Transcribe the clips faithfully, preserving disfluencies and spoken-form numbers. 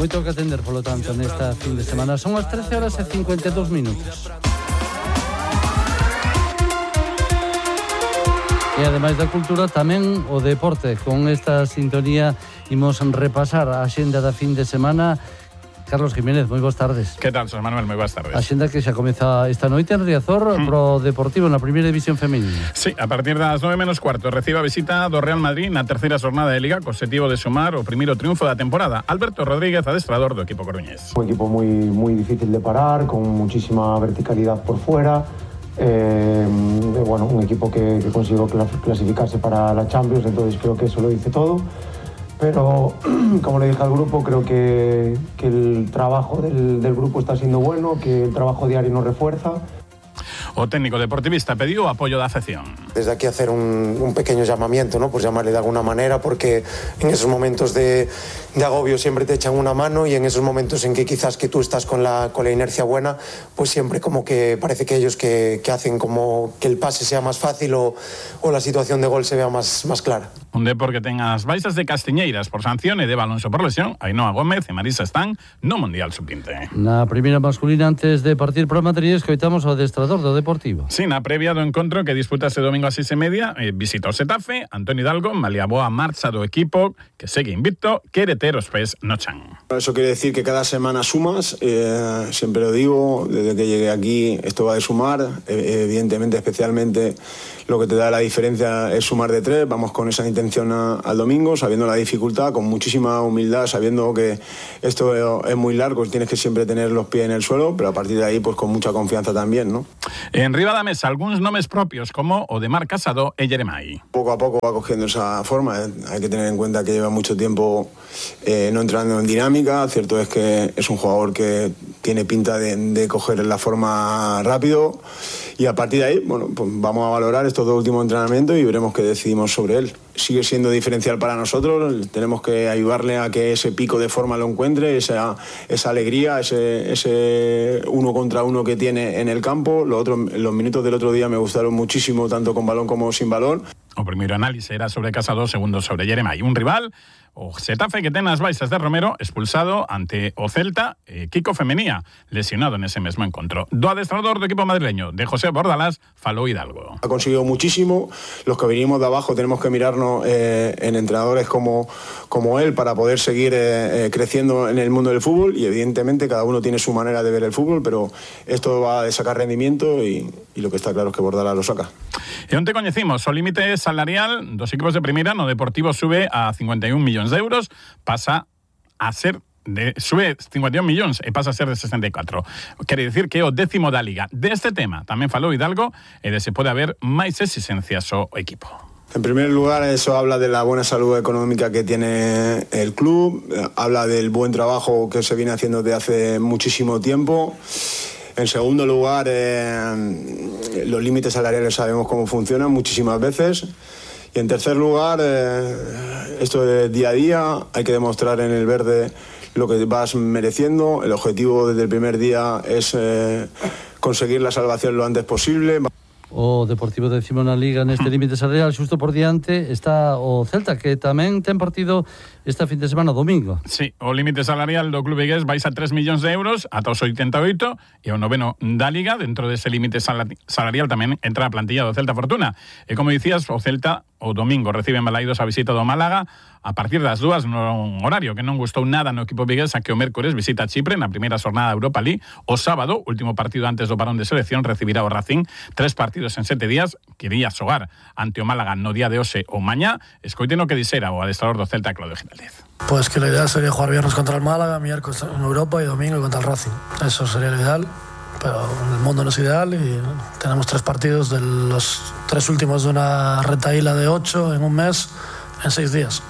Moito que atender, polo tanto, nesta fin de semana. Son as trece horas e cincuenta e dous minutos. E ademais da cultura, tamén o deporte. Con esta sintonía imos repasar a axenda da fin de semana. Carlos Jiménez, moi boas tardes. Que tal, José Manuel? Moi boas tardes. A xenda que xa comeza esta noite en Riazor mm. pro Deportivo na primeira división femenina. Sí, a partir das nove menos cuarto recibe a visita do Real Madrid na terceira xornada de Liga co objetivo de sumar o primeiro triunfo da temporada. Alberto Rodríguez, adestrador do equipo coruñés. Un equipo moi moi difícil de parar, con muchísima verticalidade por fuera. Eh, bueno, un equipo que, que consiguió clasificarse para la Champions, entonces creo que eso lo dice todo. Pero, como le dije al grupo, creo que, que el trabajo del, del grupo está siendo bueno, que el trabajo diario nos refuerza. O técnico deportivista pediu o apoio da afección. Desde aquí hacer un, un pequeño llamamiento, ¿no? Por llamarle de alguna manera, porque en esos momentos de, de agobio siempre te echan una mano, y en esos momentos en que quizás que tú estás con la, con la inercia buena, pues siempre como que parece que ellos que, que hacen como que el pase sea más fácil o, o la situación de gol se vea más, más clara. Un Depor que ten as baixas de Castiñeiras por sanción e de Alonso por lesión. Ainhoa Gómez e Marisa están no Mundial Sub vinte. Na primeira masculina, antes de partir para Madrid, escoitamos o adestrador do Deportivo. Sí, na previa do encontro que disputase domingo a seis e media, eh, visita o Xetafe. Antonio Hidalgo malia boa marcha do equipo, que segue invicto, quere ter os pés no chan. Eso quiere decir que cada semana sumas, eh, siempre lo digo, desde que llegué aquí esto va de sumar, eh, evidentemente, especialmente lo que te da la diferencia es sumar de tres. Vamos con esa intención a, al domingo, sabiendo la dificultad, con muchísima humildad, sabiendo que esto es muy largo, tienes que siempre tener los pies en el suelo, pero a partir de ahí pues con mucha confianza también, ¿no? En riba da mesa, algúns nomes propios como o de Marc Casado e Jeremai. Poco a poco va cogiendo esa forma, ¿eh? Hay que tener en cuenta que lleva mucho tiempo eh, no entrando en dinámica. Cierto es que es un jugador que tiene pinta de, de coger la forma rápido, y a partir de ahí, bueno, pues vamos a valorar estos dos últimos entrenamientos y veremos qué decidimos sobre él. Sigue siendo diferencial para nosotros, tenemos que ayudarle a que ese pico de forma lo encuentre, esa, esa alegría, ese, ese uno contra uno que tiene en el campo. Lo otro, los minutos del otro día me gustaron muchísimo, tanto con balón como sin balón. O primeiro análise era sobre Casado, segundo sobre Jeremai. Un rival, o Xetafe, que ten as baixas de Romero, expulsado ante o Celta, e Kiko Femenía, lesionado nese mesmo encontro. Do adestrador do equipo madrileño, de José Bordalás, falou Hidalgo. Ha conseguido muchísimo. Los que venimos de abajo tenemos que mirarnos eh, en entrenadores como, como él para poder seguir eh, eh, creciendo en el mundo del fútbol, y evidentemente cada uno tiene su manera de ver el fútbol, pero esto va a sacar rendimiento, y, y lo que está claro es que Bordalás lo saca. E onte coñecimos o límite salarial dos equipos de primeira. No Deportivo sube a cincuenta e un millóns de euros, pasa a ser de, sube cincuenta e un millóns e pasa a ser de sesenta e catro. Quere dicir que é o décimo da Liga. Deste tema tamén falou Hidalgo, e de se pode haber máis exigencias ao equipo. En primer lugar, eso habla de la buena salud económica que tiene el club, habla del buen trabajo que se viene haciendo desde hace muchísimo tiempo. En segundo lugar, eh, los límites salariales sabemos cómo funcionan muchísimas veces. Y en tercer lugar, eh, esto de día a día, hay que demostrar en el verde lo que vas mereciendo. El objetivo desde el primer día es eh, conseguir la salvación lo antes posible. O Deportivo décimo na Liga neste límite salarial. Xusto por diante está o Celta, que tamén ten partido esta fin de semana, domingo. Sí, o límite salarial do club vigués vais a tres millóns de euros ata os oitenta e oito, e o noveno da Liga. Dentro dese límite salarial tamén entra a plantilla do Celta Fortuna. E como dicías, o Celta o domingo recibe en Balaidos a visita do Málaga a partir das dúas, nun horario que non gustou nada no equipo vigués, a que o mércores visita Chipre na primeira xornada da Europa League. O sábado, último partido antes do parón de selección, recibirá o Racing. Tres partidos en sete días, quería xogar ante o Málaga no día de hoxe ou mañá. Escoiten o que dixera o adestrador do Celta, Claudio Giraldez. Pues que la idea sería jugar viernes contra el Málaga, miércoles en Europa y domingo contra el Racing. Eso sería lo ideal, pero el mundo no es ideal y tenemos tres partidos de los tres últimos de una retaíla de ocho en un mes, en seis días.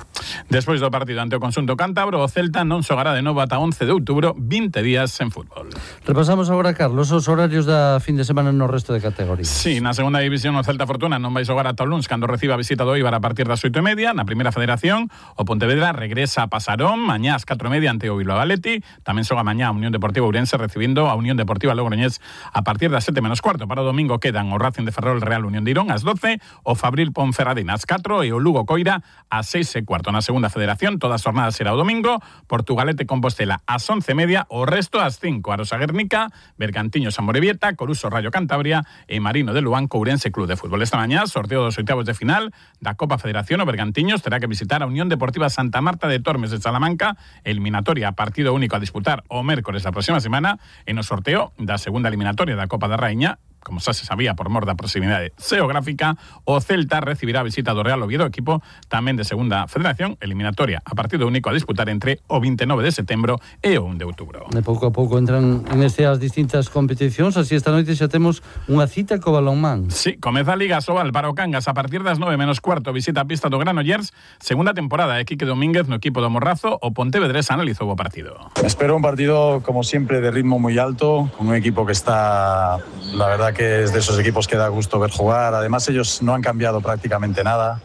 Despois do partido ante o conxunto cántabro, o Celta non xogará de novo ata once de outubro, vinte días en fútbol. Repasamos agora, Carlos, os horarios da fin de semana no resto de categorías. Sí, na segunda división o Celta Fortuna non vai xogar ata o luns, cando reciba a visita do Eibar a partir das oito e media. Na primeira federación, o Pontevedra regresa a Pasarón mañá ás catro e media ante o Bilbao Athletic. Tamén xoga mañá a Unión Deportiva Ourense recibindo a Unión Deportiva Logroñés a partir das sete menos cuarto. Para o domingo quedan o Racing de Ferrol Real Unión de Irón ás doce, o Fabril Ponferradina ás catro e o Lugo Coira ás seis e cuarto. Na na segunda federación, todas as jornadas será o domingo, Portugalete Compostela ás once e media, o resto ás cinco, Arosa Guernica, Bergantiños Amorebieta, Coruso Rayo Cantabria e Marino de Luán Courense Club de Fútbol. Esta mañá, sorteo dos oitavos de final da Copa Federación, o Bergantiños terá que visitar a Unión Deportiva Santa Marta de Tormes de Salamanca, eliminatoria a partido único a disputar o mércores da próxima semana, e no sorteo da segunda eliminatoria da Copa da Raíña, como xa se sabía por mor da proximidade xeográfica, o Celta recibirá a visita do Real Oviedo, equipo tamén de segunda federación, eliminatoria a partido único a disputar entre o vinte e nove de setembro e o un de outubro. De pouco a pouco entran en este as distintas competicións, así esta noite xa temos unha cita co balonmán. Sí, comeza a Liga Sobal para o Cangas a partir das nove menos cuarto, visita a pista do Granollers, segunda temporada, e Quique Domínguez no equipo do Morrazo, o Pontevedrés analizou o partido. Espero un partido, como siempre, de ritmo muy alto, con un equipo que está, la verdad, que es de esos equipos que da gusto ver jugar. Además, ellos no han cambiado prácticamente nada,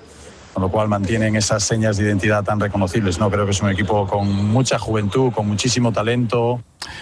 con lo cual mantienen esas señas de identidad tan reconocibles, ¿no? Creo que es un equipo con mucha juventud, con muchísimo talento.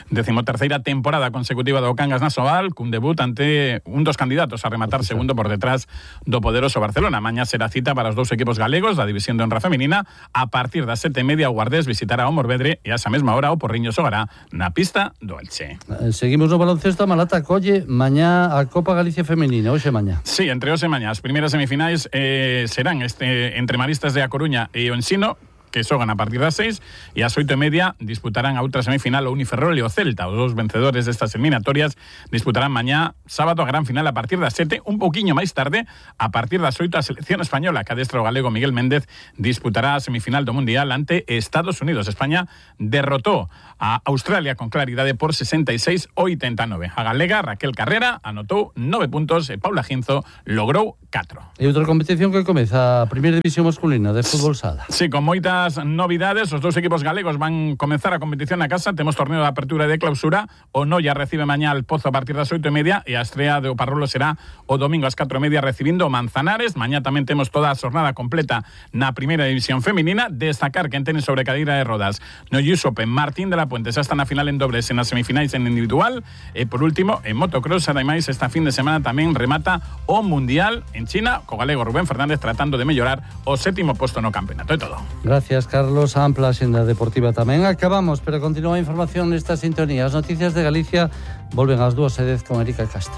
Decimoterceira temporada consecutiva do Cangas na Sobal, cun debut ante un dos candidatos a rematar segundo por detrás do poderoso Barcelona. Mañá será cita para os dous equipos galegos da división de honra femenina. A partir das sete e media o Guardés visitará o Morvedre e a esa mesma hora o Porriño xogará na pista do Elche. Seguimos no baloncesto. A Malata colle mañá a Copa Galicia Femenina, hoxe mañá. Sí, entre hoxe mañá. As primeiras semifinais eh, serán este, entre Maristas de A Coruña e o Ensino, que xogan a partir das seis, e ás oito e media disputarán a outra semifinal o Uniferrol e o Celta. Os dous vencedores destas eliminatorias disputarán mañá sábado a gran final a partir das sete, un pouquiño máis tarde, a partir das oito, a selección española, que adestra o galego Miguel Méndez, disputará a semifinal do Mundial ante Estados Unidos. España derrotou a Australia con claridade por sesenta e seis a oitenta e nove. A galega Raquel Carrera anotou nove puntos e Paula Ginzo logrou catro. E outra competición que comeza, a primeira división masculina de fútbol sala. Sí, con moita novidades, os dous equipos galegos van comenzar a competición na casa. Temos torneo de apertura e de clausura. O Noia recibe mañá al Pozo a partir das oito e media e a estrea do Parrolo será o domingo ás catro e media recibindo o Manzanares. Mañá tamén temos toda a xornada completa na primeira división feminina. Destacar que en tenis sobre cadeira de rodas no U S Open, Martín de la Puente xa está na final en dobles e nas semifinais en individual. E por último, en motocross, ademais, esta fin de semana tamén remata o Mundial en China, co galego Rubén Fernández tratando de mellorar o sétimo posto no campeonato. É todo. Gracias, Carlos. Ampla axenda deportiva tamén. Acabamos, pero continúa a información nesta sintonía. As noticias de Galicia volven ás dúas e dez con Erika Castro.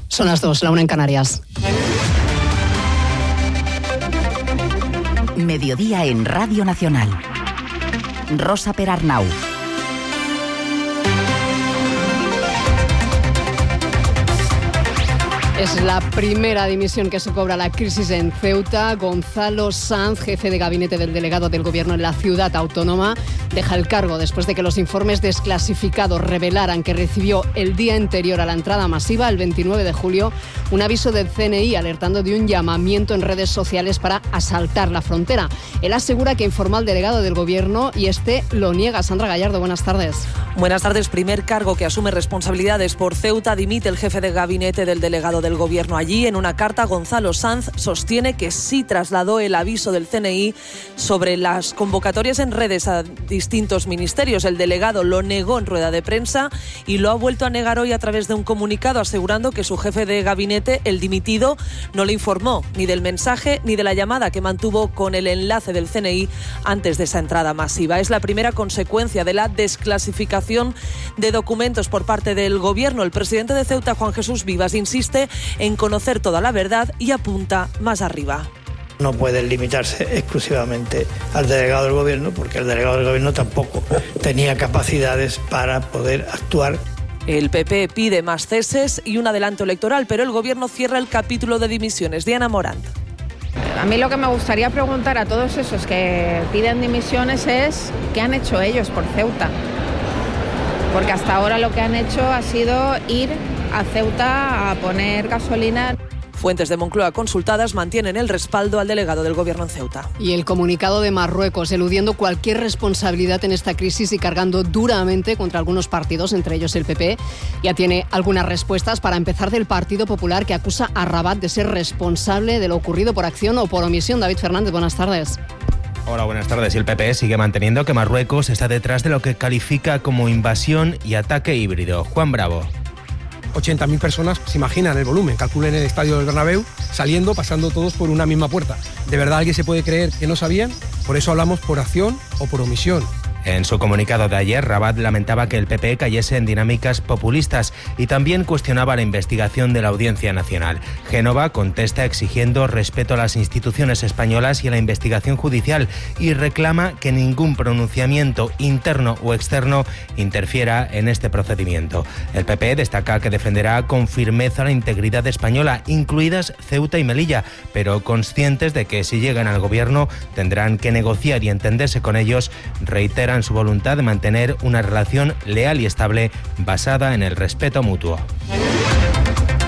Son las dos, la una en Canarias. Mediodía en Radio Nacional. Rosa Perarnau. Es la primera dimisión que se cobra la crisis en Ceuta. Gonzalo Sanz, jefe de gabinete del delegado del gobierno en la ciudad autónoma, deja el cargo después de que los informes desclasificados revelaran que recibió el día anterior a la entrada masiva, el veintinueve de julio, un aviso del C N I alertando de un llamamiento en redes sociales para asaltar la frontera. Él asegura que informó al delegado del gobierno y este lo niega. Sandra Gallardo, buenas tardes. Buenas tardes. Primer cargo que asume responsabilidades por Ceuta. Dimite el jefe de gabinete del delegado del gobierno allí. En una carta, Gonzalo Sanz sostiene que sí trasladó el aviso del C N I sobre las convocatorias en redes a distintos ministerios. El delegado lo negó en rueda de prensa y lo ha vuelto a negar hoy a través de un comunicado, asegurando que su jefe de gabinete, el dimitido, no le informó ni del mensaje ni de la llamada que mantuvo con el enlace del C N I antes de esa entrada masiva. Es la primera consecuencia de la desclasificación de documentos por parte del gobierno. El presidente de Ceuta, Juan Jesús Vivas, insiste en conocer toda la verdad y apunta más arriba. No puede limitarse exclusivamente al delegado del gobierno, porque el delegado del gobierno tampoco tenía capacidades para poder actuar. El P P pide más ceses y un adelanto electoral, pero el gobierno cierra el capítulo de dimisiones. Diana Morant. A mí lo que me gustaría preguntar a todos esos que piden dimisiones es ¿qué han hecho ellos por Ceuta? Porque hasta ahora lo que han hecho ha sido ir a Ceuta a poner gasolina. Fuentes de Moncloa consultadas mantienen el respaldo al delegado del gobierno en Ceuta. Y el comunicado de Marruecos, eludiendo cualquier responsabilidad en esta crisis y cargando duramente contra algunos partidos, entre ellos el P P, ya tiene algunas respuestas. Para empezar, del Partido Popular, que acusa a Rabat de ser responsable de lo ocurrido por acción o por omisión. David Fernández, buenas tardes. Hola, buenas tardes. Y el P P sigue manteniendo que Marruecos está detrás de lo que califica como invasión y ataque híbrido. Juan Bravo. ochenta mil personas, se imaginan el volumen, calculen el estadio del Bernabéu, saliendo, pasando todos por una misma puerta. ¿De verdad alguien se puede creer que no sabían? Por eso hablamos por acción o por omisión. En su comunicado de ayer, Rabat lamentaba que el P P cayese en dinámicas populistas y también cuestionaba la investigación de la Audiencia Nacional. Génova contesta exigiendo respeto a las instituciones españolas y a la investigación judicial y reclama que ningún pronunciamiento interno o externo interfiera en este procedimiento. El P P destaca que defenderá con firmeza la integridad española, incluidas Ceuta y Melilla, pero conscientes de que si llegan al gobierno tendrán que negociar y entenderse con ellos. Reitera su voluntad de mantener una relación leal y estable basada en el respeto mutuo.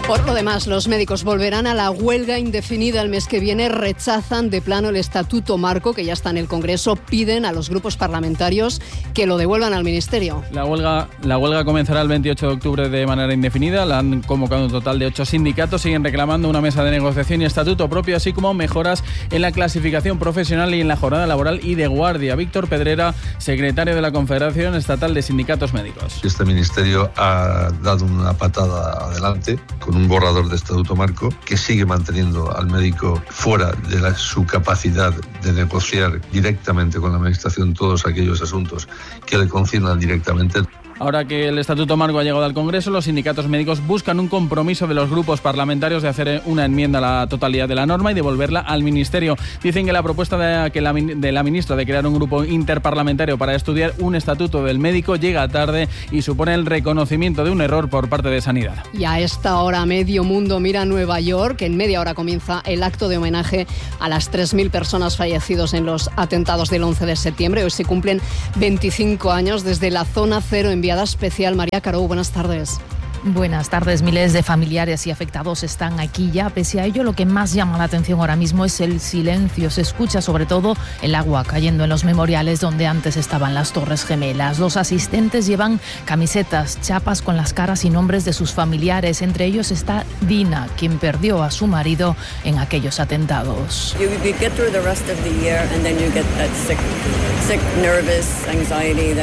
Por lo demás, los médicos volverán a la huelga indefinida el mes que viene, rechazan de plano el Estatuto Marco, que ya está en el Congreso, piden a los grupos parlamentarios que lo devuelvan al Ministerio. La huelga, la huelga comenzará el veintiocho de octubre de manera indefinida, la han convocado un total de ocho sindicatos, siguen reclamando una mesa de negociación y estatuto propio, así como mejoras en la clasificación profesional y en la jornada laboral y de guardia. Víctor Pedrera, secretario de la Confederación Estatal de Sindicatos Médicos. Este ministerio ha dado una patada adelante con un borrador de Estatuto Marco que sigue manteniendo al médico fuera de la, su capacidad de negociar directamente con la Administración todos aquellos asuntos que le conciernan directamente. Ahora que el Estatuto Marco ha llegado al Congreso, los sindicatos médicos buscan un compromiso de los grupos parlamentarios de hacer una enmienda a la totalidad de la norma y devolverla al Ministerio. Dicen que la propuesta de, que la, de la ministra de crear un grupo interparlamentario para estudiar un estatuto del médico llega tarde y supone el reconocimiento de un error por parte de Sanidad. Y a esta hora medio mundo mira a Nueva York. En media hora comienza el acto de homenaje a las tres mil personas fallecidos en los atentados del once de septiembre. Hoy se cumplen veinticinco años desde la zona cero enviada especial. María Caró, buenas tardes. Buenas tardes. Miles de familiares y afectados están aquí ya. Pese a ello, lo que más llama la atención ahora mismo es el silencio. Se escucha sobre todo el agua cayendo en los memoriales donde antes estaban las Torres Gemelas. Los asistentes llevan camisetas, chapas con las caras y nombres de sus familiares. Entre ellos está Dina, quien perdió a su marido en aquellos atentados.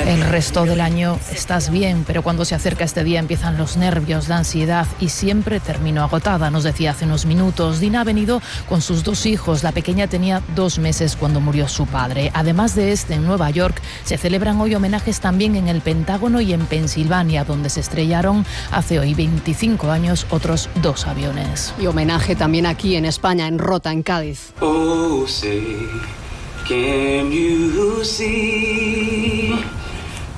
El resto del año estás bien, pero cuando se acerca este día empiezan los nervios. nervios, la ansiedad y siempre termino agotada, nos decía hace unos minutos. Dina ha venido con sus dos hijos. La pequeña tenía dos meses cuando murió su padre. Además de este, en Nueva York se celebran hoy homenajes también en el Pentágono y en Pensilvania, donde se estrellaron hace hoy veinticinco años otros dos aviones. Y homenaje también aquí en España, en Rota, en Cádiz. Oh, say, can you see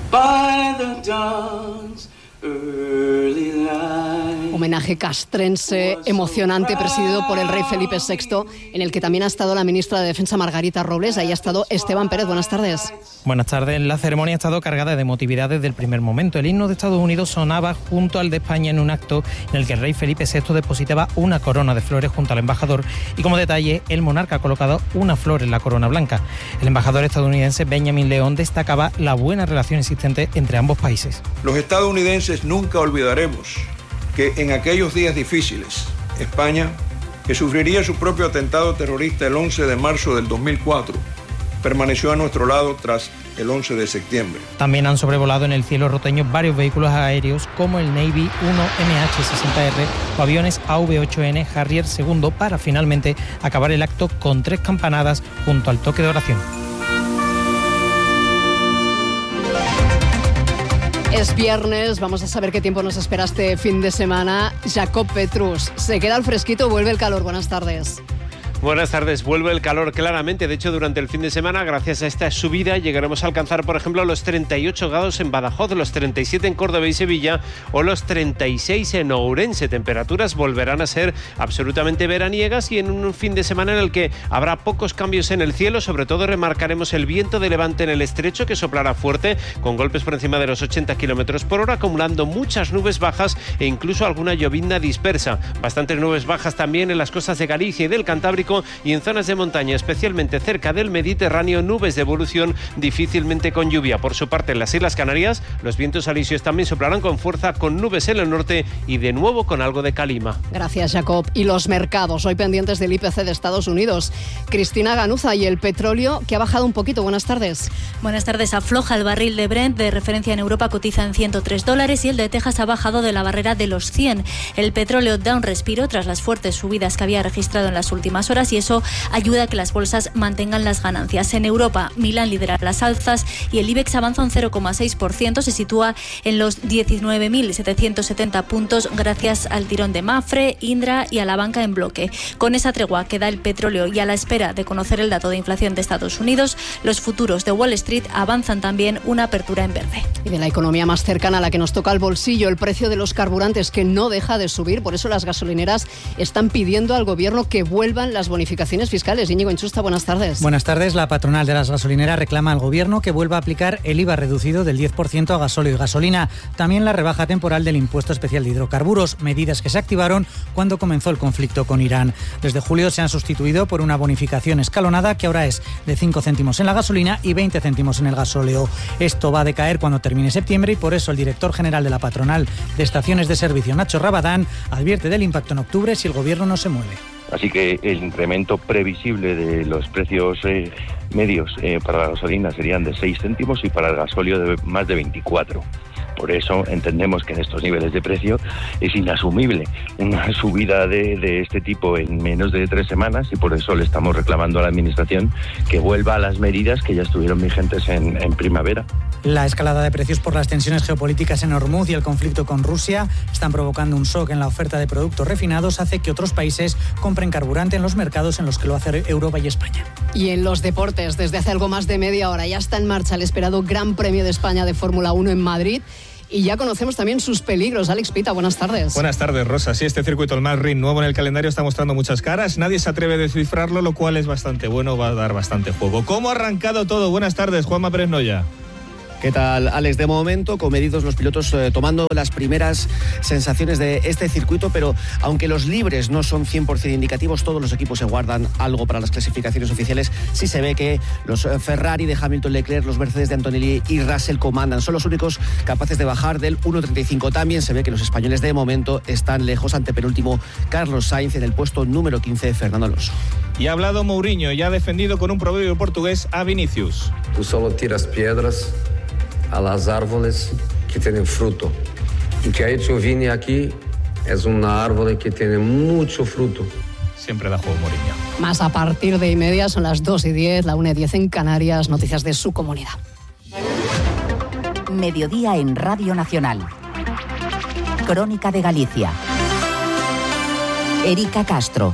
by the dawn's early light. Homenaje castrense emocionante presidido por el rey Felipe sexto, en el que también ha estado la ministra de Defensa Margarita Robles. Ahí ha estado Esteban Pérez. Buenas tardes. Buenas tardes. La ceremonia ha estado cargada de emotividad desde el primer momento. El himno de Estados Unidos sonaba junto al de España en un acto en el que el rey Felipe sexto depositaba una corona de flores junto al embajador y, como detalle, el monarca ha colocado una flor en la corona blanca. El embajador estadounidense Benjamin León destacaba la buena relación existente entre ambos países. Los estadounidenses nunca olvidaremos que en aquellos días difíciles, España, que sufriría su propio atentado terrorista el once de marzo del dos mil cuatro, permaneció a nuestro lado tras el once de septiembre. También han sobrevolado en el cielo roteño varios vehículos aéreos como el Navy uno M H sesenta R o aviones A V ocho N Harrier segundo para finalmente acabar el acto con tres campanadas junto al toque de oración. Es viernes, vamos a saber qué tiempo nos espera este fin de semana. Jacob Petrus, se queda al fresquito, vuelve el calor. Buenas tardes. Buenas tardes. Vuelve el calor claramente. De hecho, durante el fin de semana, gracias a esta subida, llegaremos a alcanzar, por ejemplo, los treinta y ocho grados en Badajoz, los treinta y siete en Córdoba y Sevilla o los treinta y seis en Ourense. Temperaturas volverán a ser absolutamente veraniegas y en un fin de semana en el que habrá pocos cambios en el cielo. Sobre todo remarcaremos el viento de levante en el estrecho, que soplará fuerte, con golpes por encima de los ochenta kilómetros por hora, acumulando muchas nubes bajas e incluso alguna llovizna dispersa. Bastantes nubes bajas también en las costas de Galicia y del Cantábrico, Atlántico y en zonas de montaña, especialmente cerca del Mediterráneo, nubes de evolución difícilmente con lluvia. Por su parte, en las Islas Canarias, los vientos alisios también soplarán con fuerza, con nubes en el norte y de nuevo con algo de calima. Gracias, Jacob. Y los mercados, hoy pendientes del I P C de Estados Unidos. Cristina Ganuza, y el petróleo, que ha bajado un poquito. Buenas tardes. Buenas tardes. Afloja el barril de Brent, de referencia en Europa, cotiza en ciento tres dólares y el de Texas ha bajado de la barrera de los cien. El petróleo da un respiro tras las fuertes subidas que había registrado en las últimas horas y eso ayuda a que las bolsas mantengan las ganancias. En Europa, Milán lidera las alzas y el IBEX avanza un cero coma seis por ciento, se sitúa en los diecinueve mil setecientos setenta puntos gracias al tirón de Mafre, Indra y a la banca en bloque. Con esa tregua que da el petróleo y a la espera de conocer el dato de inflación de Estados Unidos, los futuros de Wall Street avanzan también una apertura en verde. Y de la economía más cercana a la que nos toca el bolsillo, el precio de los carburantes, que no deja de subir. Por eso las gasolineras están pidiendo al gobierno que vuelvan las bonificaciones fiscales. Íñigo Inchusta, buenas tardes. Buenas tardes. La patronal de las gasolineras reclama al gobierno que vuelva a aplicar el I V A reducido del diez por ciento a gasóleo y gasolina. También la rebaja temporal del impuesto especial de hidrocarburos, medidas que se activaron cuando comenzó el conflicto con Irán. Desde julio se han sustituido por una bonificación escalonada que ahora es de cinco céntimos en la gasolina y veinte céntimos en el gasóleo. Esto va a decaer cuando termine septiembre y por eso el director general de la patronal de estaciones de servicio, Nacho Rabadán, advierte del impacto en octubre si el gobierno no se mueve. Así que el incremento previsible de los precios eh, medios eh, para la gasolina serían de seis céntimos y para el gasóleo de más de veinticuatro. Por eso entendemos que en estos niveles de precio es inasumible una subida de, de este tipo en menos de tres semanas y por eso le estamos reclamando a la Administración que vuelva a las medidas que ya estuvieron vigentes en, en primavera. La escalada de precios por las tensiones geopolíticas en Hormuz y el conflicto con Rusia están provocando un shock en la oferta de productos refinados, hace que otros países compren carburante en los mercados en los que lo hace Europa y España. Y en los deportes, desde hace algo más de media hora ya está en marcha el esperado Gran Premio de España de Fórmula uno en Madrid. Y ya conocemos también sus peligros. Alex Pita, buenas tardes. Buenas tardes, Rosa. Sí, este circuito, el Madrid nuevo en el calendario, está mostrando muchas caras. Nadie se atreve a descifrarlo, lo cual es bastante bueno, va a dar bastante juego. ¿Cómo ha arrancado todo? Buenas tardes, Juanma Pérez Noya. ¿Qué tal, Alex? De momento, comedidos los pilotos eh, tomando las primeras sensaciones de este circuito, pero aunque los libres no son cien por ciento indicativos, todos los equipos se guardan algo para las clasificaciones oficiales. Sí se ve que los Ferrari de Hamilton, Leclerc, los Mercedes de Antonelli y Russell comandan. Son los únicos capaces de bajar del uno treinta y cinco. También se ve que los españoles de momento están lejos, ante penúltimo Carlos Sainz, en el puesto número quince, Fernando Alonso. Y ha hablado Mourinho y ha defendido con un proverbio portugués a Vinicius. Tú solo tiras piedras a las árboles que tienen fruto. Y que ha hecho Vini aquí es una árbol que tiene mucho fruto. Siempre da juego Mourinho. Más a partir de y media, son las dos y diez, la una y diez en Canarias, noticias de su comunidad. Mediodía en Radio Nacional. Crónica de Galicia. Erika Castro.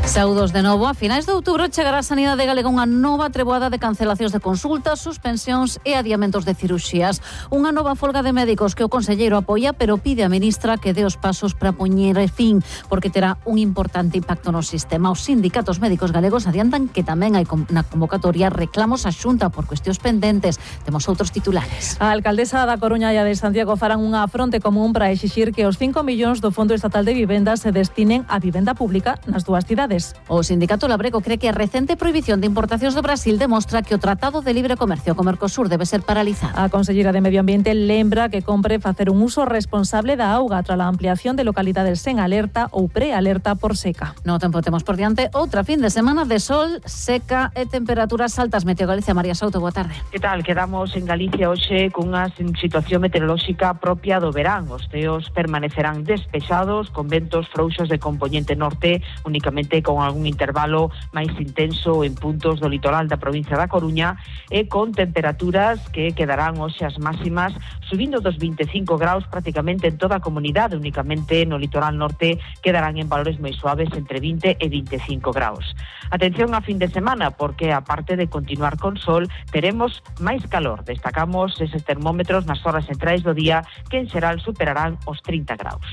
Saúdos de novo. A finais de outubro chegará a Sanidade Galega unha nova treboada de cancelacións de consultas, suspensións e adiamentos de cirurxías. Unha nova folga de médicos que o conselleiro apoia, pero pide a ministra que dé os pasos para poñer fin, porque terá un importante impacto no sistema. Os sindicatos médicos galegos adiantan que tamén hai na convocatoria reclamos á Xunta por cuestións pendentes. Temos outros titulares. A alcaldesa da Coruña e a de Santiago farán unha fronte común para exixir que os cinco millóns do Fondo Estatal de Vivenda se destinen á vivenda pública nas dúas cidades. O sindicato Labrego cree que a recente prohibición de importacións do Brasil demostra que o Tratado de Libre Comercio co Mercosur debe ser paralizado. A conselleira de Medio Ambiente lembra que compre facer un uso responsable da auga tras a ampliación de localidades sen alerta ou prealerta por seca. No tempo temos por diante outra fin de semana de sol, seca e temperaturas altas. Meteo Galicia, María Souto, boa tarde. Que tal? Quedamos en Galicia hoxe cunha situación meteorolóxica propia do verán. Os ceos permanecerán despexados, con ventos frouxos de componente norte, únicamente con algún intervalo máis intenso en puntos do litoral da provincia da Coruña e con temperaturas que quedarán hoxe as máximas subindo dos veinticinco graus prácticamente en toda a comunidade, únicamente no litoral norte quedarán en valores moi suaves entre vinte e veinticinco graus. Atención a fin de semana, porque aparte de continuar con sol, teremos máis calor. Destacamos eses termómetros nas horas centrais do día que en xeral superarán os trinta graus.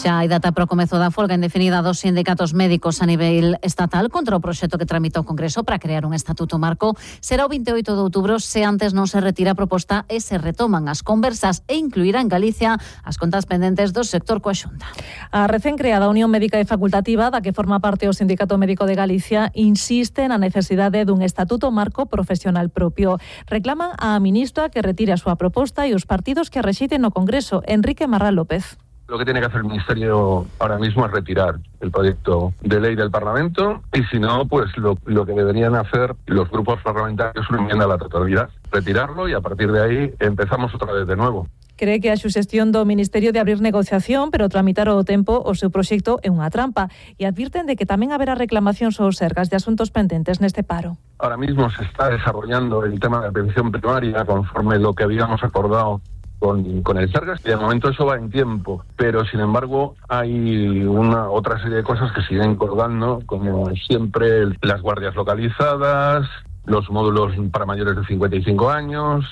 Xa hai data para o comezo da folga indefinida dos sindicatos médicos a nivel estatal contra o proxecto que tramita o Congreso para crear un estatuto marco. Será o veinte e oito de outubro se antes non se retira a proposta e se retoman as conversas e incluirá en Galicia as contas pendentes do sector coa Xunta. A recén creada Unión Médica e Facultativa, da que forma parte o Sindicato Médico de Galicia, insiste na necesidade dun estatuto marco profesional propio. Reclaman á ministra que retire a súa proposta e os partidos que a rexeiten no Congreso. Enrique Marrán López. Lo que tiene que hacer el Ministerio ahora mismo es retirar el proyecto de ley del Parlamento y si no, pues lo, lo que deberían hacer los grupos parlamentarios es una enmienda a la totalidad, retirarlo y a partir de ahí empezamos otra vez de nuevo. Cree que a suxestión do Ministerio de abrir negociación, pero tramitar o tempo o seu proxecto é unha trampa e advirten de que tamén haberá reclamacións aos sergas de asuntos pendentes neste paro. Ahora mismo se está desarrollando el tema de la atención primaria conforme lo que habíamos acordado Con, con el Sergas, y de momento eso va en tiempo, pero sin embargo hay una otra serie de cosas que siguen colgando, como siempre las guardias localizadas, los módulos para mayores de cincuenta y cinco años,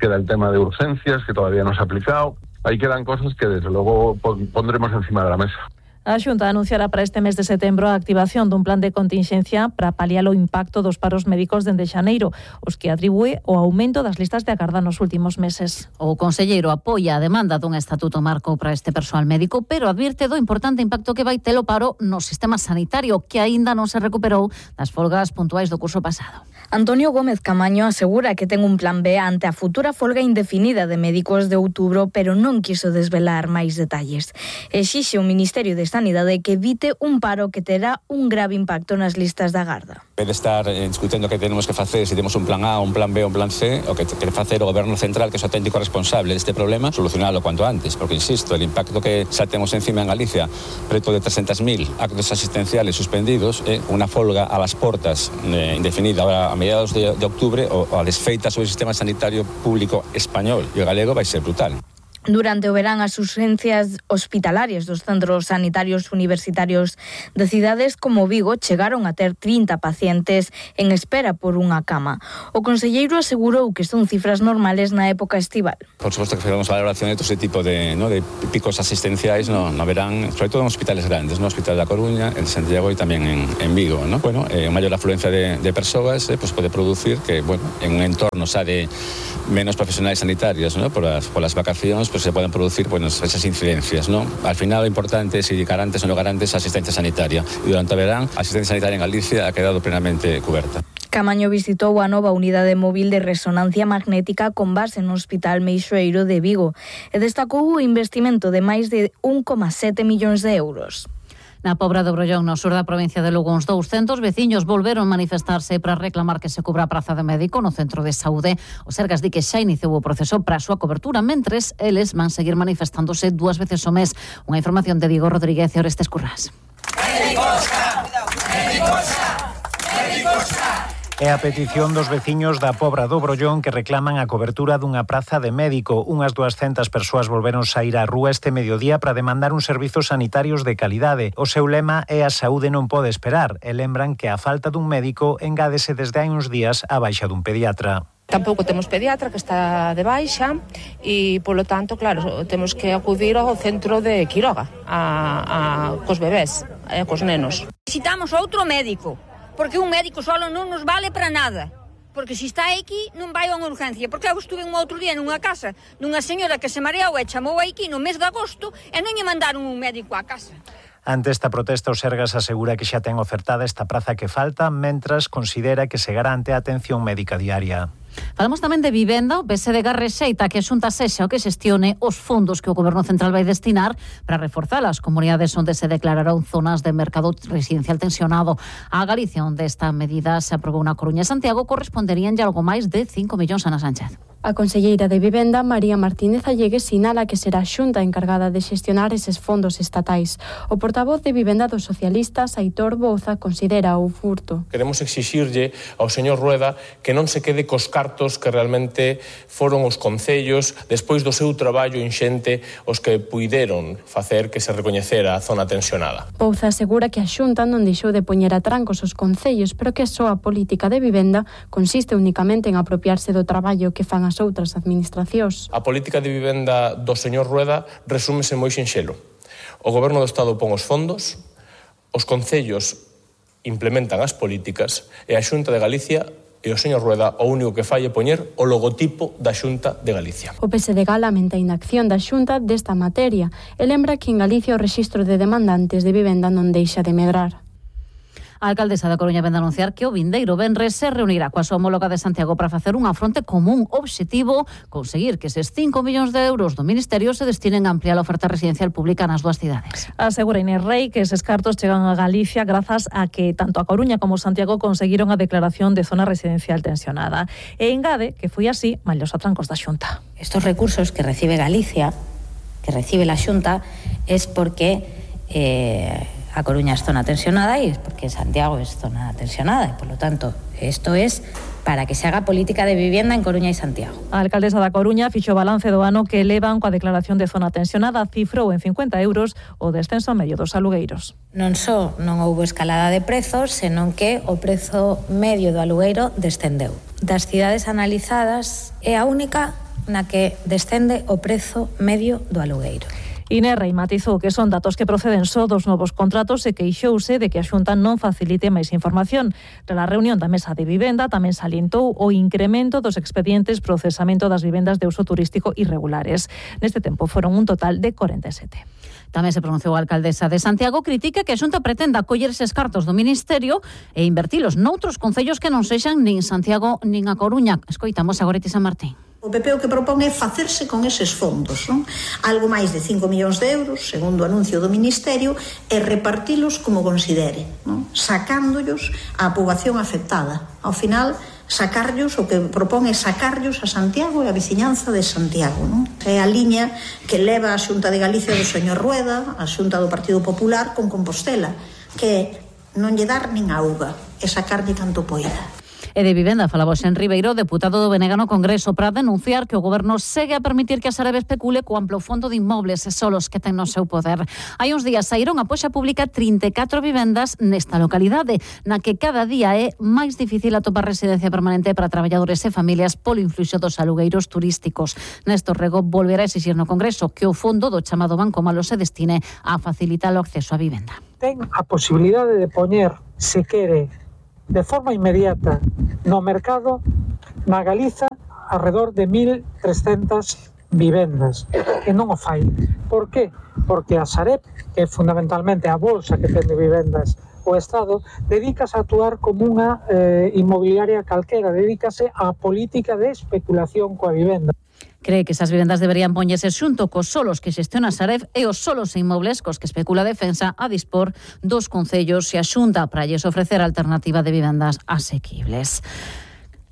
queda el tema de urgencias que todavía no se ha aplicado, ahí quedan cosas que desde luego pondremos encima de la mesa. A Xunta anunciará para este mes de setembro a activación dun plan de contingencia para paliar o impacto dos paros médicos dende xaneiro, os que atribúe o aumento das listas de agarda nos últimos meses. O conselleiro apoia a demanda dun estatuto marco para este persoal médico, pero advirte do importante impacto que vai ter o paro no sistema sanitario, que aínda non se recuperou das folgas puntuais do curso pasado. Antonio Gómez Camaño asegura que ten un plan B ante a futura folga indefinida de médicos de outubro, pero non quiso desvelar máis detalles. Exixe o Ministerio de Sanidade que evite un paro que terá un grave impacto nas listas da agarda. En vez de estar eh, discutindo que tenemos que facer, se temos un plan A, un plan B ou un plan C, o que quere facer o Goberno Central, que é o auténtico responsable deste problema, solucionalo cuanto antes, porque, insisto, el impacto que xa temos encima en Galicia, preto de trescentos mil actos asistenciales suspendidos, eh, unha folga a las portas eh, indefinida ahora a mediados de, de octubre, o, o a desfeita sobre o sistema sanitario público español e o galego vai ser brutal. Durante o verán, as urgencias hospitalarias dos centros sanitarios universitarios de cidades como Vigo chegaron a ter trinta pacientes en espera por unha cama. O conselleiro asegurou que son cifras normales na época estival. Por suposto que fazemos valoración de todo ese tipo de, ¿no? de picos asistenciais no, no verán, sobre todo en hospitales grandes, no Hospital da Coruña, en Santiago e tamén en, en Vigo. ¿no? Bueno, eh, maior afluencia de, de persoas eh, pues pode producir que, bueno, en un entorno xa de menos profesionais sanitarios, ¿no? por, las, por las vacacións, pues se pueden producir bueno, esas incidencias, ¿no? Al final lo importante es si garantes o no garantes asistencia sanitaria. Y durante o verán, a asistencia sanitaria en Galicia ha quedado plenamente cuberta. Camaño visitou a nova unidade móvil de resonancia magnética con base no Hospital Meixoeiro de Vigo e destacou o investimento de máis de un coma sete millóns de euros. Na Pobra do Brollón, no sur da provincia de Lugo, uns douscentos veciños volveron manifestarse para reclamar que se cubra a praza de médico no centro de saúde. O Sergas di que xa iniciou o proceso para a súa cobertura, mentres eles van seguir manifestándose dúas veces ao mes. Unha información de Diego Rodríguez e Orestes Currás. Médicos, médicos, médicos. É a petición dos veciños da Pobra do Brollón que reclaman a cobertura dunha praza de médico. Unhas duascentas persoas volveron saír á rúa este mediodía para demandar uns servizos sanitarios de calidade. O seu lema é a saúde non pode esperar e lembran que a falta dun médico engádese desde hai uns días a baixa dun pediatra. Tampouco temos pediatra que está de baixa e, polo tanto, claro, temos que acudir ao centro de Quiroga a, a, cos bebés e cos nenos. Necesitamos outro médico, porque un médico solo non nos vale para nada. Porque se está aquí non vai a unha urgencia. Porque eu estuve un outro día nunha casa dunha señora que se mareou e chamou aquí no mes de agosto e non lle mandaron un médico á casa. Ante esta protesta, o Sergas asegura que xa ten ofertada esta praza que falta, mentras considera que se garante a atención médica diaria. Falamos tamén de vivenda. O P S D G rexeita que a Xunta sexa o que xestione os fondos que o Goberno Central vai destinar para reforzar as comunidades onde se declararon zonas de mercado residencial tensionado. A Galicia, onde esta medida se aprobou na Coruña e Santiago, corresponderían ya algo máis de cinco millóns a Ana Sánchez. A conselleira de Vivenda, María Martínez Allegues, sinala que será a Xunta encargada de xestionar eses fondos estatais. O portavoz de Vivenda dos socialistas, Aitor Bouza, considera o furto. Queremos exixirlle ao señor Rueda que non se quede cos cartos que realmente foron os concellos, despois do seu traballo inxente, os que puideron facer que se recoñecera a zona tensionada. Bouza asegura que a Xunta non deixou de poñer a trancos os concellos, pero que só a política de vivenda consiste únicamente en apropiarse do traballo que fan as outras administracións. A política de vivenda do señor Rueda resúmese moi sinxelo. O Goberno do Estado pon os fondos, os concellos implementan as políticas e a Xunta de Galicia e o señor Rueda o único que fai é poñer o logotipo da Xunta de Galicia. O P S D G lamenta a inacción da Xunta desta materia e lembra que en Galicia o rexistro de demandantes de vivenda non deixa de medrar. A alcaldesa da Coruña vende anunciar que o vindeiro venres se reunirá coa súa homóloga de Santiago para facer unha fronte común obxectivo conseguir que eses cinco millóns de euros do Ministerio se destinen a ampliar a oferta residencial pública nas dúas cidades. Asegura Inés Rei que eses cartos chegan a Galicia grazas a que tanto a Coruña como Santiago conseguiron a declaración de zona residencial tensionada. E engade que foi así malos atrancos da Xunta. Estos recursos que recibe Galicia, que recibe la Xunta, es porque eh, a Coruña es zona tensionada y es porque Santiago es zona tensionada. Y por lo tanto, esto es para que se haga política de vivienda en Coruña e Santiago. A alcaldesa da Coruña fixo balance do ano que elevan coa declaración de zona tensionada, cifrou en cincuenta euros o descenso medio dos alugueiros. Non só non houbo escalada de prezos, senón que o prezo medio do alugueiro descendeu. Das cidades analizadas é a única na que descende o prezo medio do alugueiro. Inés Rei matizou que son datos que proceden só dos novos contratos e queixouse de que a Xunta non facilite máis información. Tras a reunión da Mesa de Vivenda tamén salientou o incremento dos expedientes procesamento das vivendas de uso turístico irregulares. Neste tempo foron un total de corenta e sete. Tamén se pronunciou a alcaldesa de Santiago, critica que a Xunta pretenda coller eses cartos do Ministerio e invertilos noutros concellos que non sexan nin Santiago nin a Coruña. Escoitamos a Goretti San Martín. O P P o que propón é facerse con eses fondos, non? Algo máis de cinco millóns de euros, segundo o anuncio do Ministerio, e repartilos como considere, non? Sacándollos á poboación afectada. Ao final, sacarllos, o que propón é sacarllos a Santiago e a veciñanza de Santiago, non? É a liña que leva a Xunta de Galicia do señor Rueda, a Xunta do Partido Popular con Compostela, que é non lle dar nin auga e sacarlle tanto poida. E de vivenda falaba Xen Ribeiro, deputado do B N G no Congreso, para denunciar que o Goberno segue a permitir que a Sareb especule co amplo fondo de inmobles e solos que ten no seu poder. Hai uns días saíron a poxa pública trinta e catro vivendas nesta localidade, na que cada día é máis difícil atopar residencia permanente para traballadores e familias polo influxo dos alugueiros turísticos. Néstor Rego volverá a exixir no Congreso que o fondo do chamado Banco Malo se destine a facilitar o acceso á vivenda. Ten a posibilidade de poñer, se quere, de forma inmediata no mercado na Galiza alrededor de mil trescentas vivendas e non o fai. Por qué? Porque a Sareb, que é fundamentalmente a bolsa que ten de vivendas o Estado, dedícase a actuar como unha eh, inmobiliaria calquera, dedícase á política de especulación coa vivenda. Cree que esas vivendas deberían poñerse xunto cos solos que xestiona a Sareb e os solos e inmobles cos que especula a Defensa a dispor dos concellos e a Xunta para lles ofrecer alternativa de vivendas asequibles.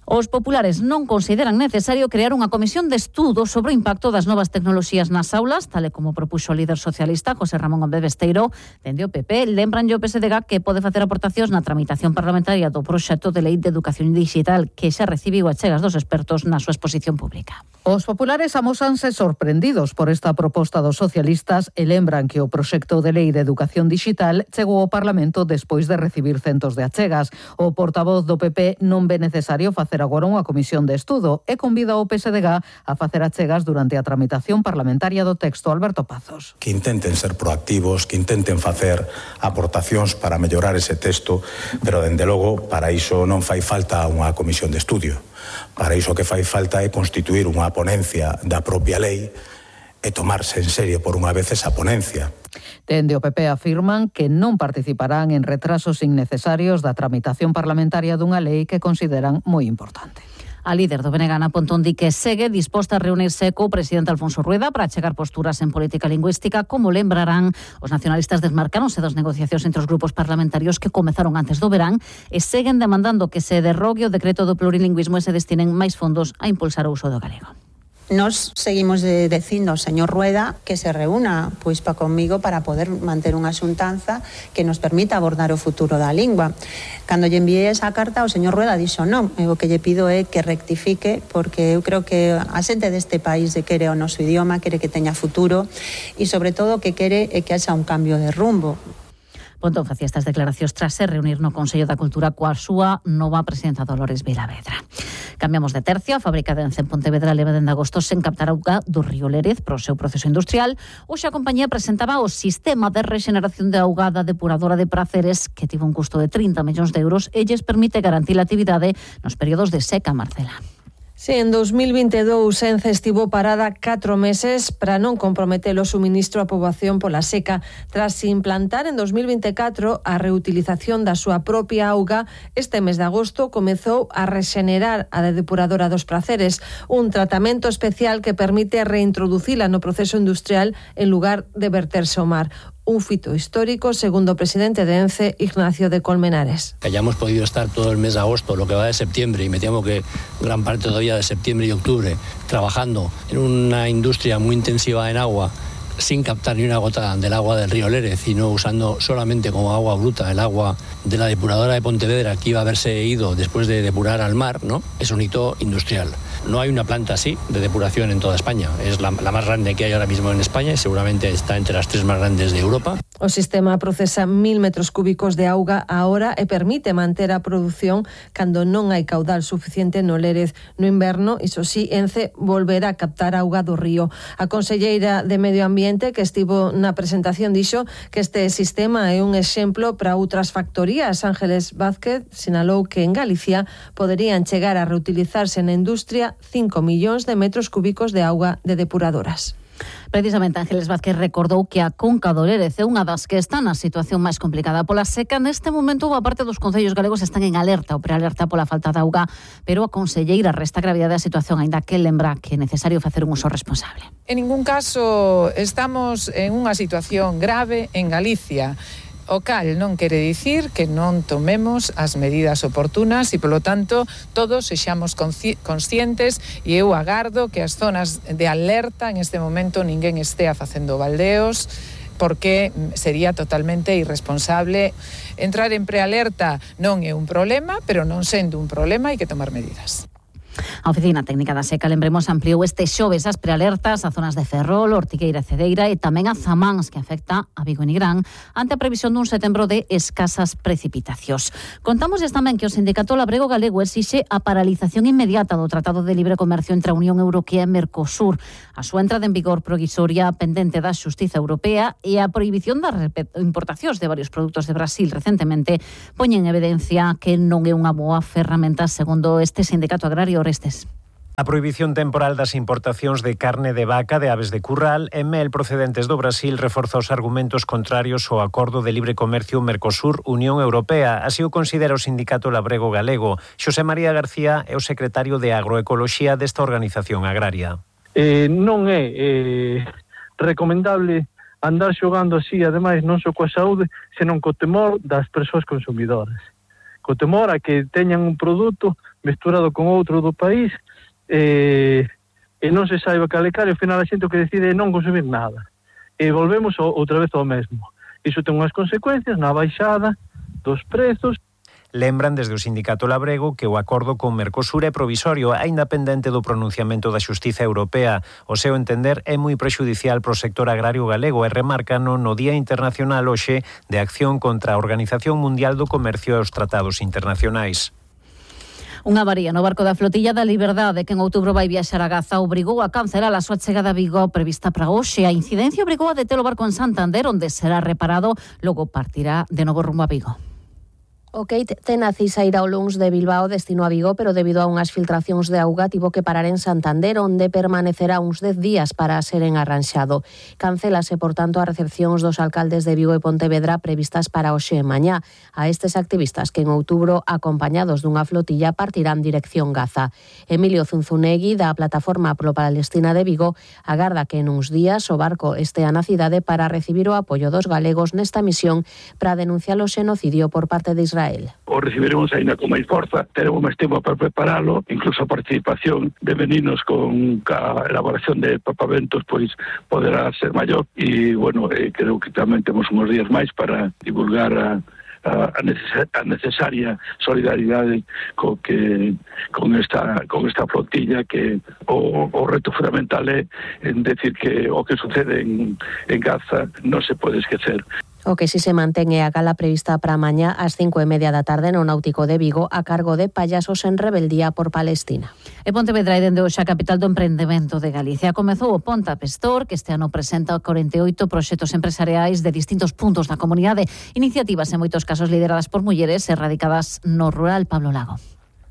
Os populares non consideran necesario crear unha comisión de estudo sobre o impacto das novas tecnoloxías nas aulas, tal e como propuxo o líder socialista José Ramón Gómez Besteiro. Dende o P P, lembran o P S D G que pode facer aportacións na tramitación parlamentaria do proxecto de lei de educación digital que xa recibiu achegas dos expertos na súa exposición pública. Os populares amósanse sorprendidos por esta proposta dos socialistas e lembran que o proxecto de lei de educación digital chegou ao Parlamento despois de recibir centos de achegas. O portavoz do P P non ve necesario facer agora unha comisión de estudo e convida o P S D G a facer achegas durante a tramitación parlamentaria do texto. Alberto Pazos. Que intenten ser proactivos, que intenten facer aportacións para mellorar ese texto, pero dende logo para iso non fai falta unha comisión de estudio. Para iso que fai falta é constituir unha ponencia da propia lei e tomarse en serio por unha vez esa ponencia. Dende o P P afirman que non participarán en retrasos innecesarios da tramitación parlamentaria dunha lei que consideran moi importante. A líder do B N G, Ana Pontón, di que segue disposta a reunirse co presidente Alfonso Rueda para chegar posturas en política lingüística. Como lembrarán, os nacionalistas desmarcaronse das negociacións entre os grupos parlamentarios que comezaron antes do verán e seguen demandando que se derrogue o decreto do plurilingüismo e se destinen máis fondos a impulsar o uso do galego. Nos seguimos de, dicindo ao señor Rueda que se reúna pois pa comigo para poder manter unha xuntanza que nos permita abordar o futuro da lingua. Cando lle enviei esa carta, o señor Rueda dixo non, e o que lle pido é que rectifique, porque eu creo que a xente deste país quere o noso idioma, quere que teña futuro e sobre todo que quere é que haxa un cambio de rumbo. Pontón facía estas declaracións tras se reunir no Consello da Cultura coa súa nova presidenta Dolores Vilavedra. Cambiamos de tercio. A fábrica de Ence en Pontevedra leva dende agosto sen captar auga do río Lérez para o seu proceso industrial. Hoxe a compañía presentaba o sistema de rexeneración de auga da depuradora de Praceres, que tivo un custo de trinta millóns de euros e lles permite garantir a actividade nos períodos de seca, Marcela. Sí, en dos mil veintidous Ence estivo parada catro meses para non comprometer o suministro á poboación pola seca. Tras implantar en dos mil veinticuatro a reutilización da súa propia auga, este mes de agosto comezou a rexenerar a depuradora dos Praceres, un tratamento especial que permite reintroducila no proceso industrial en lugar de verterse ao mar. Un fito histórico, segundo o presidente de Ence, Ignacio de Colmenares. Que hayamos podido estar todo el mes de agosto, lo que va de septiembre, y me temo que gran parte todavía de septiembre y octubre, trabajando en una industria muy intensiva en agua, sin captar ni una gota del agua del río Lérez, sino usando solamente como agua bruta el agua de la depuradora de Pontevedra, que iba a haberse ido después de depurar al mar, ¿no? Es un hito industrial. No hay una planta así de depuración en toda España. Es la, la más grande que hay ahora mismo en España y seguramente está entre las tres más grandes de Europa. O sistema procesa mil metros cúbicos de auga a hora e permite manter a produción cando non hai caudal suficiente no Lérez no inverno. Iso sí, Ence volverá a captar auga do río. A conselleira de Medio Ambiente, que estivo na presentación, dixo que este sistema é un exemplo para outras factorías. Ángeles Vázquez sinalou que en Galicia poderían chegar a reutilizarse na industria cinco millóns de metros cúbicos de auga de depuradoras. Precisamente Ángeles Vázquez recordou que a Conca do Lérez é unha das que está na situación máis complicada pola seca. Neste momento, boa parte dos concellos galegos están en alerta ou prealerta pola falta de auga, pero a conselleira resta gravidade a situación, aínda que lembra que é necesario facer un uso responsable. En ningún caso estamos en unha situación grave en Galicia. O cal non quere dicir que non tomemos as medidas oportunas e, polo tanto, todos sexamos conscientes, e eu agardo que as zonas de alerta en este momento ninguén estea facendo baldeos, porque sería totalmente irresponsable. Entrar en prealerta non é un problema, pero non sendo un problema hai que tomar medidas. A Oficina Técnica da Seca, lembremos, ampliou este xoves as prealertas a zonas de Ferrol, Ortigueira e Cedeira e tamén a Zamáns, que afecta a Vigo e Nigrán, ante a previsión dun setembro de escasas precipitacións. Contámosles tamén que o Sindicato Labrego Galego exixe a paralización inmediata do Tratado de Libre Comercio entre a Unión Europea e Mercosur, a súa entrada en vigor provisoria pendente da Xustiza Europea e a prohibición das importacións de varios produtos de Brasil recentemente poñen en evidencia que non é unha boa ferramenta, segundo este sindicato agrario. Orestes. A prohibición temporal das importacións de carne de vaca, de aves de curral e mel procedentes do Brasil reforza os argumentos contrarios ao Acordo de Libre Comercio Mercosur-Unión Europea. Así o considera o Sindicato Labrego Galego. Xosé María García é o secretario de Agroecoloxía desta organización agraria. Eh, non é eh, recomendable andar xogando así, ademais non só coa saúde, senón co temor das persoas consumidoras. Co temor a que teñan un produto mesturado con outro do país eh, e non se saiba calecar, e ao final a xente o que decide é non consumir nada. E volvemos ao, outra vez ao mesmo. Iso ten unhas consecuencias na baixada dos prezos. Lembran desde o Sindicato Labrego que o acordo con Mercosur é provisorio, aínda pendente do pronunciamento da Xustiza Europea. O seu entender é moi prexudicial pro sector agrario galego e remarcan no Día Internacional hoxe de Acción contra a Organización Mundial do Comercio e os Tratados Internacionais. Unha avaría no barco da Flotilla da Liberdade, que en outubro vai viaxar a Gaza, obrigou a cancelar a súa chegada a Vigo prevista para hoxe. A incidencia obrigou a deter o barco en Santander, onde será reparado, logo partirá de novo rumbo a Vigo. O Kate ten a cisa ir ao Luns de Bilbao destino a Vigo, pero debido a unhas filtracións de auga tivo que parar en Santander, onde permanecerá uns dez días para ser enarranxado. Cancélase, por tanto, a recepcións dos alcaldes de Vigo e Pontevedra previstas para hoxe e mañá. A estes activistas que en outubro, acompañados dunha flotilla, partirán dirección Gaza. Emilio Zunzunegui, da Plataforma Pro Palestina de Vigo, agarda que en uns días o barco estea na cidade para recibir o apoio dos galegos nesta misión para denunciar o xenocidio por parte de Israel. O recibiremos aínda con máis forza, teremos máis tempo para preparalo, incluso a participación de meninos con a elaboración de papaventos pois poderá ser maior e, bueno, eh, creo que tamén temos uns días máis para divulgar a a necesaria solidaridade co que con esta con esta flotilla, que o, o reto fundamental é en decir que o que sucede en, en Gaza non se pode esquecer. O que si se mantén é a gala prevista para mañá ás cinco e media da tarde no Náutico de Vigo a cargo de Payasos en Rebeldía por Palestina. E Pontevedra é dende hoxe a capital do emprendemento de Galicia. Comezou o Ponta Pestor, que este ano presenta corenta e oito proxectos empresariais de distintos puntos da comunidade, iniciativas en moitos casos lideradas por mulleres e radicadas no rural. Pablo Lago.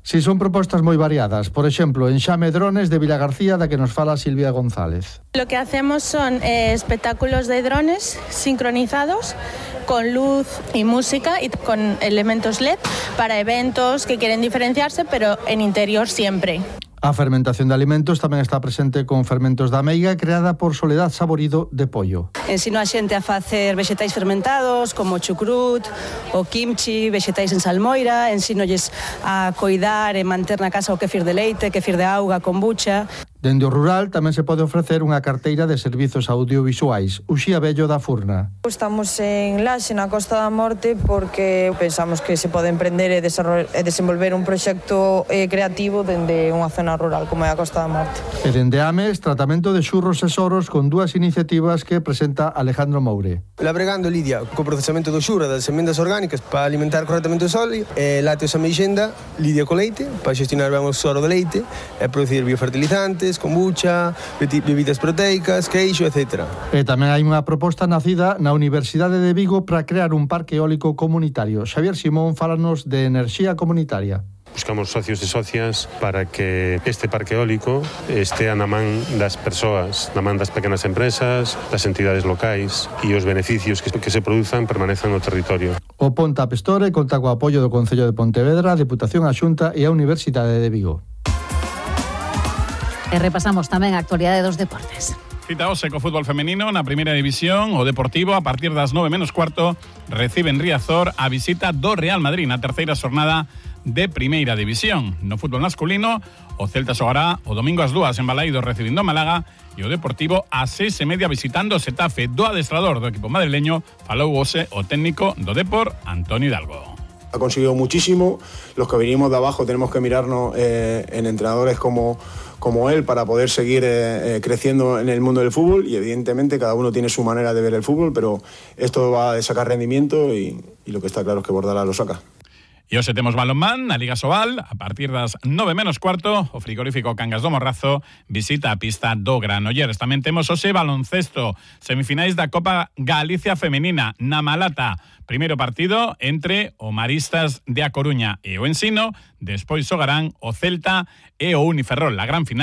Si son propostas moi variadas, por exemplo, en Xame Drones de Vilagarcía, da que nos fala Silvia González. Lo que hacemos son eh, espectáculos de drones sincronizados con luz y música y con elementos L E D para eventos que quieren diferenciarse, pero en interior siempre. A fermentación de alimentos tamén está presente con fermentos da meiga creada por Soledad Saborido de Pollo. Ensino a xente a facer vexetais fermentados como chucrut, o kimchi, vexetais en salmoira, ensínolles a coidar e manter na casa o kefir de leite, kefir de auga, kombucha. Dende o rural tamén se pode ofrecer unha carteira de servizos audiovisuais. Uxía Bello da Furna. Estamos en Laxe, na Costa da Morte, porque pensamos que se pode emprender e desenvolver un proxecto creativo dende unha zona rural como é a Costa da Morte. E dende Ames, tratamento de xurros e soros con dúas iniciativas que presenta Alejandro Moure. Labregando Lidia co procesamento do xurro das semendas orgánicas para alimentar correctamente o sóleo, e lácteos a meixenda, Lidia co leite, para xestionar ben o soro de leite e producir biofertilizantes, kombucha, bebidas proteicas, queixo, etcétera. E tamén hai unha proposta nacida na Universidade de Vigo para crear un parque eólico comunitario. Xavier Simón fálanos de enerxía comunitaria. Buscamos socios e socias para que este parque eólico estea na man das persoas, na man das pequenas empresas, das entidades locais e os beneficios que, que se produzan permanezan no territorio. O Ponta Pestore conta co apoio do Concello de Pontevedra, a Deputación a Xunta e a Universidade de Vigo. E repasamos tamén a actualidade dos deportes. Cita hoxe co fútbol femenino na primeira división. O Deportivo, a partir das nove menos cuarto, recibe en Riazor a visita do Real Madrid na terceira xornada de primeira división. No fútbol masculino, o Celta xogará o domingo ás dúas en Balaídos recibindo Málaga e o Deportivo ás seis e media visitando o Xetafe. Do adestrador do equipo madrileño falou hoxe o técnico do Depor, Antonio Hidalgo. Ha conseguido muchísimo. Los que venimos de abajo tenemos que mirarnos eh, en entrenadores como, como él para poder seguir eh, eh, creciendo en el mundo del fútbol, y evidentemente cada uno tiene su manera de ver el fútbol, pero esto va a sacar rendimiento y, y lo que está claro es que Bordalás lo saca. E hoxe temos balonmán na Liga Sobal. A partir das nove menos cuarto, o frigorífico Cangas do Morrazo visita a pista do Granollers. Tamén temos hoxe baloncesto, semifinais da Copa Galicia Femenina na Malata. Primeiro partido entre o Maristas de A Coruña e o Ensino, despois xogarán o Celta e o Uniferrol. A gran final